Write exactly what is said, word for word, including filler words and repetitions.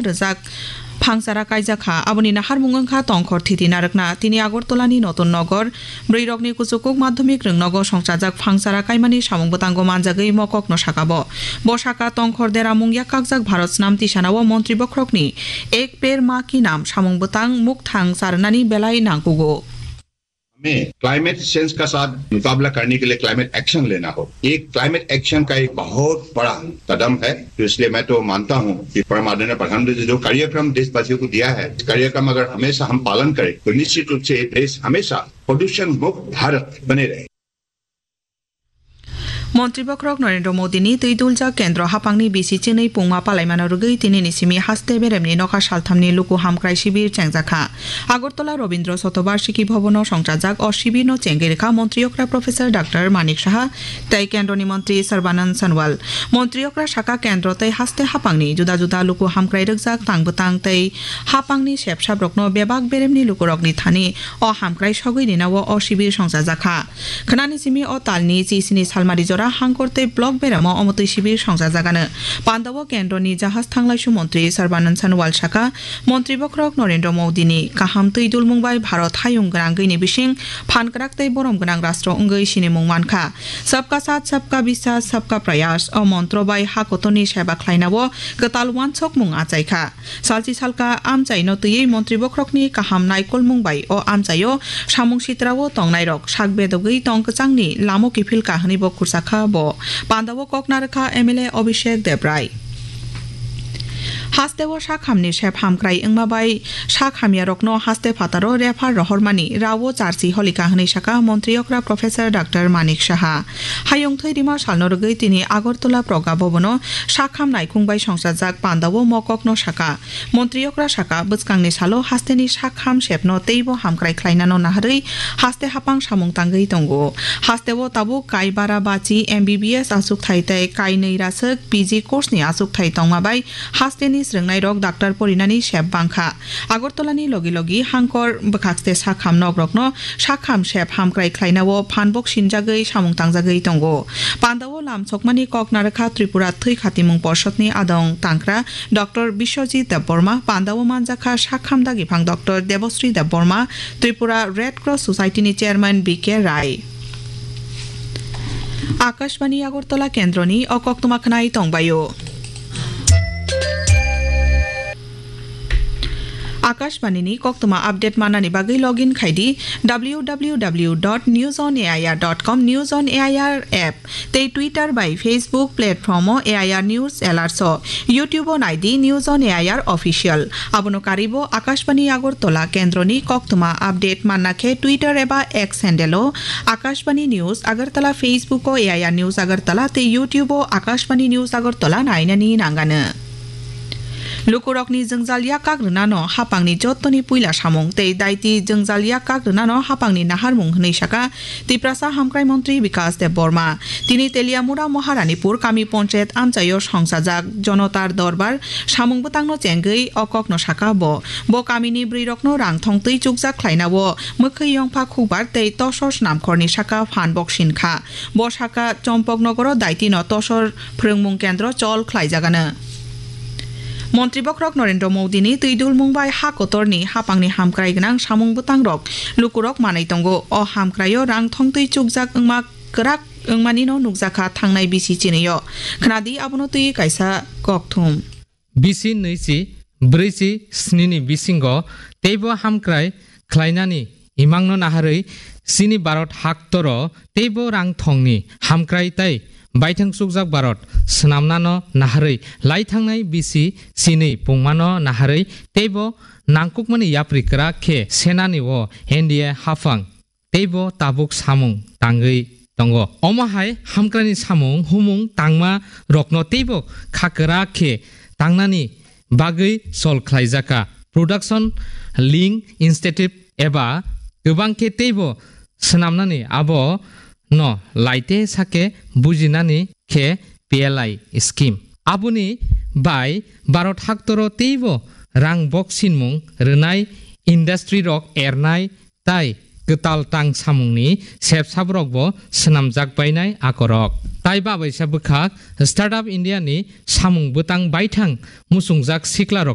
rwjak phangsara kaijak kha. Aboni naharmung wngkha tongkhor thiti narwkna. Tini Agartala ni Notun Nogor bwrwi rokni kuchukuk madhyamik rwngnogo songchajak phangsara kaimani samung bwtango manjagwi mokokno saka bo. Bo saka tongkhor deramung yakkakjak Bharat snam tisanao montri bokhorokni Ek Ped Maa Ki Naam samung bwtang mukthang charwnani belai nangkugo. हमें climate change का साथ मुकाबला करने के लिए climate action लेना हो। ये क्लाइमेट एक्शन का एक बहुत बड़ा कदम है, तो इसलिए मैं तो मानता हूँ कि परम आदरणीय प्रधानमंत्री जी जो कार्यक्रम देशवासियों को दिया है, इस कार्यक्रम अगर हमेशा हम पालन करें, तो निश्चित रूप से ये देश हमेशा प्रदूषण मुक्त भारत बने रहे। Montri bokhorok Narendra Modi ni twi duljak kendro haphangni bisi chinwi pungma palaimano rwgwi tinini simi haste beremni nokha salthamni luku hamkrai sibir chengjakha. Agartala Rabindra Shatobarshiki Bhavan o songchajak o sibirno chengwi rwkha Montri okra Professor Doctor Manik Saha tei kendroni montri Sarbanand Sonowal. Montri okra saka kendro tei haste haphangni juda juda luku hamkrai rwkjak tang bwtang tei haphangni sepsaprokno bebak beremni lukurokni thani o hamkrai sogwi rinao o sibir songchajakha. Khwnani simi o talni chisini salmari jora Hangkor tei Block beramo omotwi sibir songchajagano. Pandao kendroni jahaj thanglaisu montri Sarbanand Sonowal saka, montri bokhorok Narendra Modi ni kaham twi dulmung bai Bharat hayung gwnangwini bising phan kwrak tei borom gwnang rastro wngwi sinimung mankha. Sabka Saath, Sabka Vishwas, Sabka Prayas o montro bai ha kotorni seba khlainao kwtal wansokmung achaikha. Salchi salka amchaino twiwi montri bokhorokni kaham naikolmung bai o amchaio samung sitrao tongnairok sak bedogwi tong kwchangni lamo kiphilka hwnwi bo khurchakha bo. Pandao kok narwkha M L A Abhishek Debrai. Hasteo sak hamni sep hamkrai wngma bai sak hamyarokno haste phataro refer rohormani rao charchi holika hwnwi saka montri okra Professor Doctor Manik Saha. Hayung thwi rima salno rwgwi tini Agartala Progya Bhavan o sak ham naikhung bai songchajak pandao mokokno saka. Montri okra saka, bwskangni salo hasteni sak ham sepno teibo hamkrai khlainano naharwi haste haphang samung tangwi tongo. Hasteo tabuk Kaibara Bachi M B B S achukthai tei kainwi raswk P G course ni achukthai tongma bai hasteni swrwngnairok doctor porinani sep bangkha. Agartala ni logi logi Hangkor bwkhakste sak ham nokrokno sak ham sep hamkrai khlainao phanbok sinjagwi samung tangjagwi tongo. Pandao lamsokmani kok narwkha Tripura Thwi Khatimung Porshod ni adong tangkra Doctor Biswajit Debbarma, pandao manjakha sak ham dagiphang Doctor Debasri Debbarma, Tripura Red Cross Society ni Chairman B K Rai. Akashbani Agartala kendroni o koktwma khwnai tongbaio. Akashbani ni koktwma update manani bagwi login khaidi W W W dot news on A I R dot com, News on A I R app tei Twitter bai Facebook platform o A I R News Alerts o, YouTube o naidi News on A I R Official. Abono karibo Akashbani Agartala kendroni koktwma update manna khe Twitter eba X handle o Akashbani News Agartala, Facebook o A I R News Agartala tei YouTube o Akashbani News Agartala nainani nangano. Lukurokni jwngjal yakkak rwnano haphangni jottoni puila samung tei daiti jwngjal yakkak rwnano haphangni naharmung hwnwi saka Tiprasa Hamkrai Montri Bikas Debbarma. Tini Teliamura Maharanipur kami ponchayat amchaio songchajak Jonotar Dorbar samung bwtangno chengwi o kokno saka bo. Bo kamini bwrwirokno rang thongtwi chukjak khlainao mwkhwi yongpha khukbar tei tosor snamkhorni saka phan boksin kha. Bo saka Chompoknogoro daitino tosor phrwngmung kendro chol khlaijagano. Montri bokhorok Narendra Modi ni twi dulmung bai ha kotorni haphangni hamkrai gwnang samung bwtangrok lukurok manwi tongo. O hamkraio rang thongtwi chukjak wngma kwrak wngmanino nukjakha thangnai bisi chinio. Khnadi abono twi kaisa kokthum. Bisi nwichi bwrwichi snini bisingo teibo hamkrai khlainani imangno naharwi chini Bharat haktoro teibo rang thongni hamkrai tai baithang chukjak Bharat swnamnano naharwi lai thangnai bisi chini pungmano naharwi teibo nangkukmani yapri kwrak khe senani o N D A haphang teibo tabuk samung tangwi tongo. Omo hai hamkraini samung humung tangma rokno teibo kha kwrak khe tangnani bagwi sol khlaijakha. Production link incentive eba kwbang khe teibo swnamnani abo no laite sake bujinani khe P L I scheme. Aboni bai Bharat haktoro teibo rang boksinmung rwnai industry rok ernai tai kwtal tang samungni sepsabrokbo swnamjak bainai akorok. Tai babaisa bwkhak Startup India ni samung bwtang baithang muchungjak siklarok